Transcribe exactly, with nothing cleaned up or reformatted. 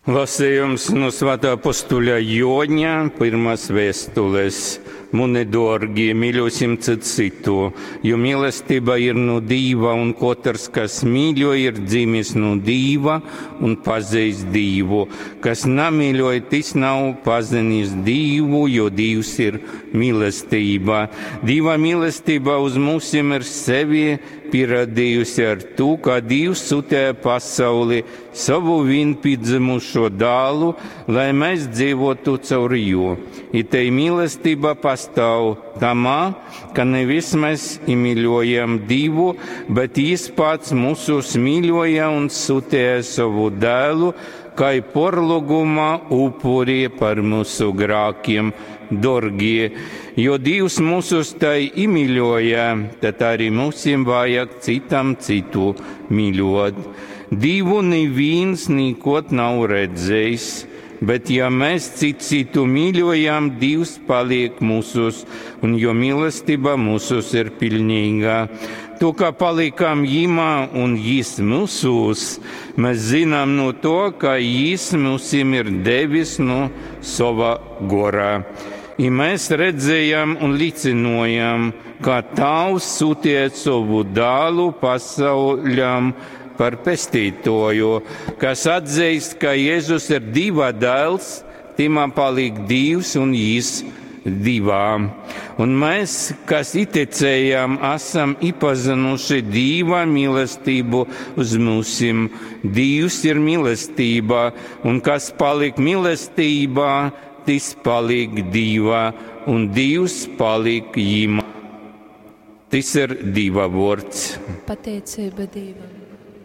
Lasījums no Svētā apostuļa Joņa pirmās vēstules. Muni dārgie, mīļosim cits citu, jo mīlestība ir no Dīva, un katrs, kas mīļo, ir dzimis no Dīva un pazīst Dīvu. Kas namīļoja, tas nav pazinis Dīvu, jo Dīvs ir mīlestība. Dīva mīlestība uz mūsim ir sevi pierādījusi ar to, ka Dievs sūtīja pasauli savu vienpiedzimušo dēlu, lai mēs dzīvotu caur jū. I te mīlestība pastāv tamā, ka nevis mēs iemīļojam Dievu, bet Jis pats mūsus mīļoja un sūtīja savu dēlu, kā porluguma upuri par mūsu grākiem, dārgie. Jo Dievs mūsus tai iemīļoja, tad arī mums vajag citam citu mīļot. Dievu neviens nekot nav redzējis, bet ja mēs citu citu mīļojam, Dievs paliek mūsus, un jo mīlestība mūsus ir pilnīga. To, kā palikam Jimā un Jis mūsos, mēs zinām no to, ka Jis mūsim ir devis no sava gora. I mēs redzējām un liecinojam, ka Tavs sūtīja savu dēlu pasauļam par pestītoju, kas atzīst, ka Jēzus ir Dieva dēls, timā paliek Dievs un Jis divā. Un mēs, kas ieticējām, esam iepazinuši Dieva mīlestību uz mūsim. Dievs ir mīlestība, un kas paliek mīlestībā, tas paliek Dievā, un Dievs paliek jimā. Tas ir Dieva vārds. Pateicība Dievam.